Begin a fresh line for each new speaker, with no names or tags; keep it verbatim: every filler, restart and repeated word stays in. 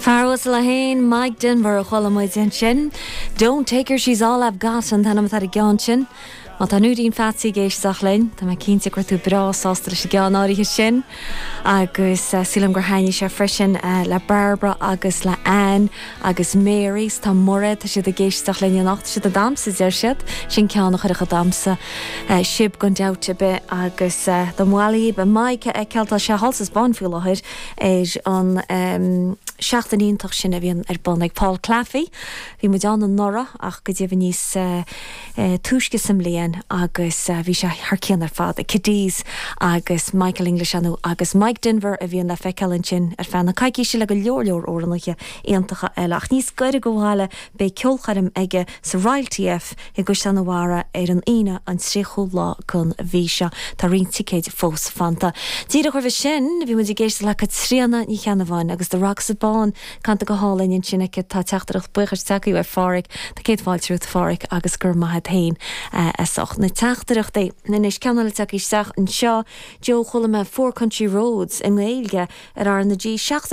Fear uasal é féin Mike Denver a chuala muid ansin. Don't take her she's all I've got an t-ainm atá ar an gceann sin. Má tá Núidín Phatsy ag éisteacht linn, Tá mé cinnte go raibh tú breá sásta leis an gceann áirithe sin. agus uh, sílim gur thaitnigh sé freisin uh, le Barbara agus le Anne agus Mary tá Mairéad tá siad ag éisteacht linn anocht siad a damsa deir siad sin ceann a chuirfeadh ag damhsa uh, sibh gan dabht ar bith agus uh, do mhailí be Mike cealtá sé halsas ban faoi láthair ar an um, seachtain iontach sin a bhíonn ar bun ag Paul Claffey. Bhí muid ann anuraidh ach go deimhin níos uh, uh, túisce sa mbliain agus uh, bhí sé thar cionn ar fad Cadiz agus Michael English anú agus Mike Denver a bhíonn le feiceáil ansin ar feadh na coicíse le go leor leor amhránaithe iontacha eile ach níos gaire go bhaile beidh ceolchoirm aige sa Royal TF i gCaisleán an Bharraigh ar an Aoine an tríochú lá den mhí seo tá roinnt ticéid fós fanta. Díreach roimhe sin bhí muid ag éisteacht le Caitríona Ní Cheannabháin agus The Rocks Bán canta go hálainn ansin aici tá teachtaireacht buíochais tagtha ó Pháraic Tá céad fáilte romhat a Pháraic agus gur maith féin as ucht na teachtaireachtaí. Anois ceann eile tagtha isteach anseo Joe chuala mé Four Country Roads i nGaeilge ar R na G seachtain